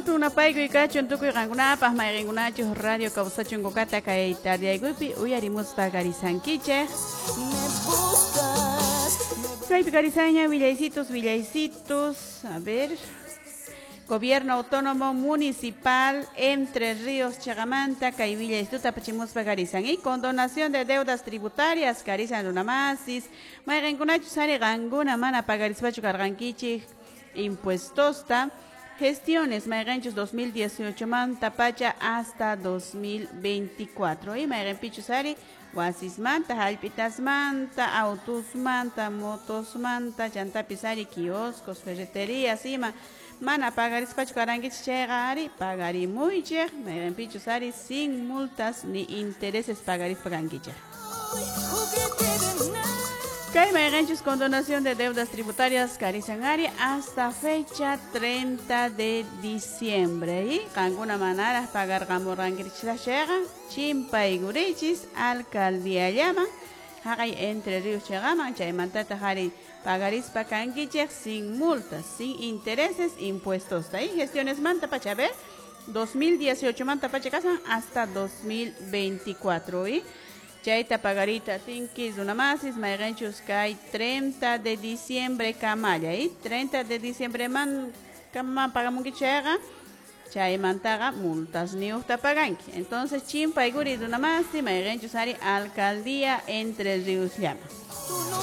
Hatun napaykuy kachun tukuy qankunapaq mayqinkunachus radio kawsachun kukata kay tardiaykuypi uyarimuspa karisankichik. Me buscas, Kaypi karisaña willaycitos, willaycitos, a ver. Gobierno Autónomo Municipal Entre Ríos Chagamanta, kay willaystuta apachimuspa karisan. Y condonación de deudas tributarias, karisan runamasis, mayqinkunachus ari qankuna mana pagarispachu karqankichik impuestosta. Gestiones mayqinchus 2018 manta pacha hasta 2024. Y mayqinpichus ari wasismanta, hallp'itasmanta, autusmanta, motosmanta, chantapis ari kioscos, ferreterías ima mana pagarispachu karankichik chayqa ari pagarimuychik mayqinpichus ari sin multas ni intereses pagarispa kankichik. Juguete de nada. Kay mayqinchus condonación de deudas tributarias karisan ari hasta fecha 30 de diciembre. Y qankuna manaraq pagarqamurqankichik chayqa chimpaykurichis alcaldía llaman haqay Entre Ríos chayqaman chaymantataq ari pagarispa kankichik sin multas, sin intereses, impuestos. Y gestiones manta pacha, a ver, 2018 manta pacha kasan hasta 2024. Y chayta pagarita tinki runamasis mayqinchus kay 30 de diciembre kamalla y 30 de diciembre man kama pagamunki chayqa chaymantaqa multas niuqta paganki. Entonces chimpaykuri runamasi mayqinchus ari alcaldía Entre Ríos llama. Tú no